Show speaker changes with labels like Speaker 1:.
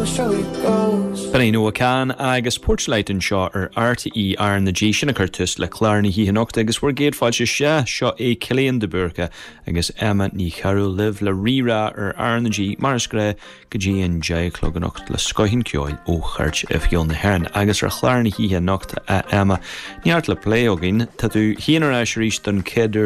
Speaker 1: B'in é Noah Kahan agus Porchlight anseo ar RTÉ R na G. Sin a chuir tús le clár na hoíche anocht agus bhur gcéad fáilte sea, seo é Cillian de Búrca agus Emma Ní Chearúil libh le Rí-Rá ar R na G mar is gnáth go dtí an 10 a chlog anocht le scoth an cheoil ó Chairt Oifigiúil na hÉireann agus ar chlár na hoíche anocht a Emma. Neart le plé againn. Tá tú féin ar ais arís don chéad uair.